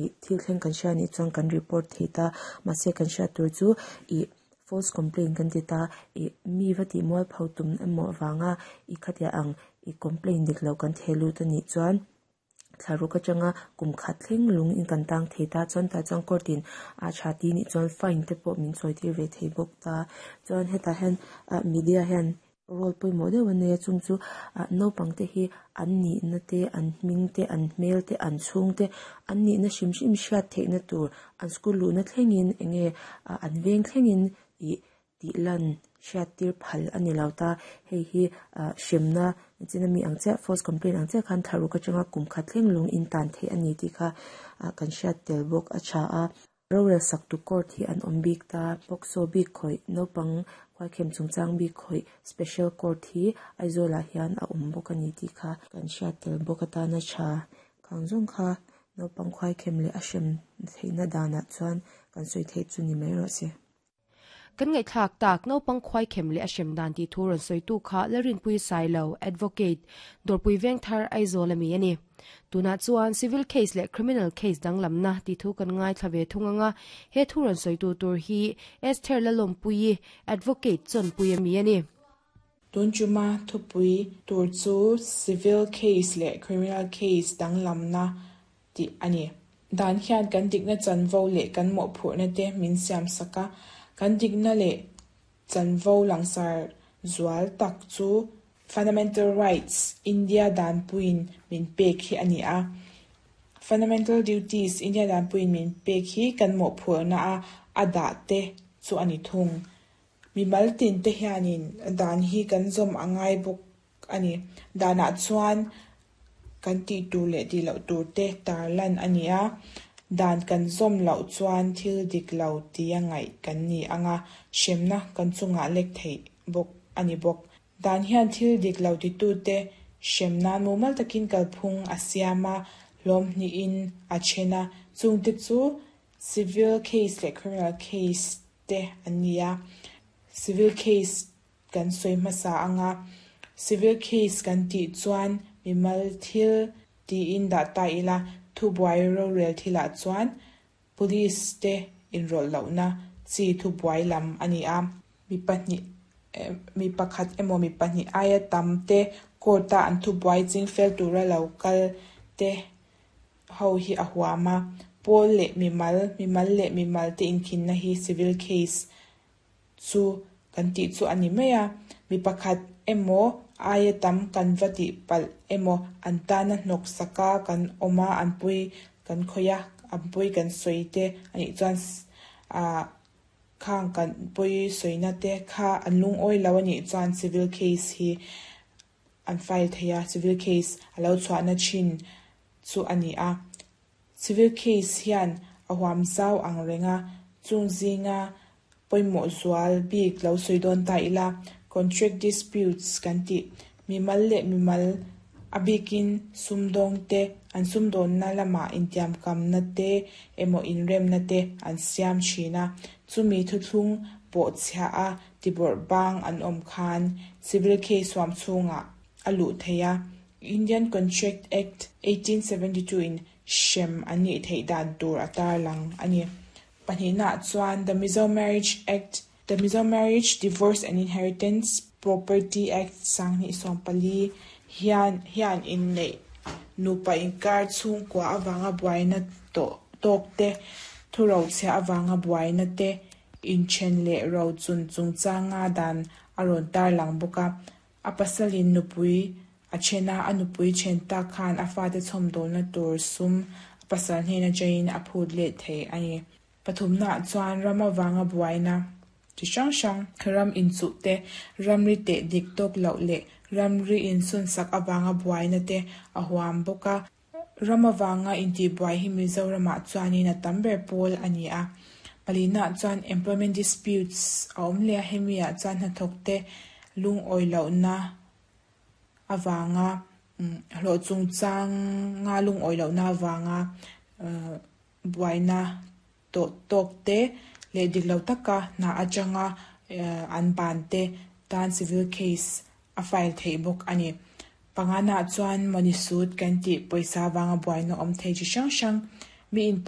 Ih thil thleng kan hria anih chuan kan report thei ta mahse kan hriat tur chu ih false complaint kan ti ta ih mi va tih mual pho tum emaw avanga ih khatiah ang ih complaint dik lo kan theh lut anih chuan thla ruk atanga kum khat thleng lung in kan tang thei ta chuan tah chuan court in a tha ti nih chuan fine te pawh min sawi tir ve thei bawk ta chuan hetah hian ah media hian. Role pawimawh deuh a nei a chung chu ah naupang te hi an nihna te an hming te an hmel te an chhung te an nihna hrim hrim hriat theihna tur an school luhna thlengin eng nge ah an veng thlengin ih tih lan hriat tir phal a ni lo ta hei hi ah hremna chin ami ang chiah false complaint ang chiah khan thla ruk atanga kum khat thleng lung in tan theih a ni tih kha ah kan hriat tel bawk a tha a. Rorel sak tu court hi an awm bik ta. POCSO bik khawih, naupang khuaikhem chungchang bik khawih special court hi Aizawlah hian a awm bawk a ni tih kha kan hriat tel bawk atana tha khang zawng kha naupang khuaikhem leh a hrem theihna danah chuan kan sawi theih chu ni mai rawh se. Kan ngaihthlak tak, naupang khuaikhem leh a hrem dan tih thu rawn sawitu kha Lalrinpui Sailo, Advocate, Dawrpui Vengthar, Aizawl a mi a ni. Tunah chuan Civil Case leh Criminal Case danglamna tih thu kan ngaithla ve thung ang a, he thu rawn sawitu tur hi Esther Lalawmpuii, Advocate, Chawnpui a mi a ni. Tun chuma thupui tur chu Civil Case leh Criminal Case danglamna tih a ni. Dan hian kan dikna chanvo leh kan mawhphurhna te min siam sak a, kan dikna leh chanvo langsar zual tak chu Fundamental Rights, India danpuiin min pek hi a ni a. Fundamental Duties, India danpuiin min pek hi kan mawhphurhna a a dah te chu a ni thung. Mimal tin te hianin dan hi kan zawm a ngai bawk a ni. Danah chuan kan tih tur leh tih loh tur te tar lan a ni a, dan kan zawm loh chuan thil dik lo tia ngaih kan ni ang a, hremna kan chungah lek theih bawk a ni bawk. Dan hian thil dik lo titute hrem nan mumal takin kalphung a siam a, hlawm hnihin a then a, chungte chu civil case leh criminal case te an ni a. Civil case kan sawi hmasa ang a, civil case kan tih chuan mimal thil tiin dah ta ila, thubuai rorel thilah chuan police te inrawlh lohna chi thubuai lam a ni a. Mi pahnih mi pakhat emaw mi pahnih aia tam te court a an thubuai chingfel tura lo kal te ho hi a huam a, pawl leh mimal, mimal leh mimal te inkhinna hi civil case chu kan tih chu a ni mai a, mi pakhat emaw aia tam kan va tih palh emaw an tana hnawk saka kan awm a, an pui kan khawih a, an pui kan sawi te a nih chuan ah khang kan pawi sawina te kha an lungawi lo a nih chuan civil case hi an file thei a, civil case a lo chhuahna thin chu a ni a. Civil case hian a huam zau ang reng a, chung zinga pawimawh zual bik lo sawi dawn ta ila, contract disputes kan tih, mimal leh mimal a bikin sumdawng te an sumdawnna lamah intiamkamna te emaw inremna te an siam thin a, chumi thuthlung pawh chhiah a tibawrh bang an awm khan civil case huam chhungah a luh theih a, Indian Contract Act, 1872 in hrem an nih theih dan tur a tarlang a ni. Pahnihnaah chuan The Mizo Marriage Act, The Mizo Marriage, Divorce and Inheritance Property Act 2014 hian hian inneih nupa inkar chhungkua avanga buaina tawh tawk te, thurochhiah avanga buaina te, inthen leh rochun chungchanga dan a rawn tarlang bawk a. A pasalin nupui a then a, a nupui then tak khan a fate chhawmdawlna tur sum a pasal hnen atangin a phut let thei a ni. Pathumnaah chuan ram avanga buaina chi hrang hrang, ram inchuh te, ramri teh dik tawk loh leh ramri insunsak avanga buaina te a huam bawk a. Ram avanga intihbuai hi Mizoramah chuanin a tam ber pawl a ni a. Palinaah chuan employment disputes a awm leh a, hemiah chuan hnathawkte lungawi lohna avanga hlawh chungchanga lungawi lohna avanga buaina tawh tawk te leh dik lo taka hna atanga an ban te tan civil case a file theih bawk a ni. Pangana chuan money suit kan tih pawisa avanga buaina awm thei chi hrang hrang mi in.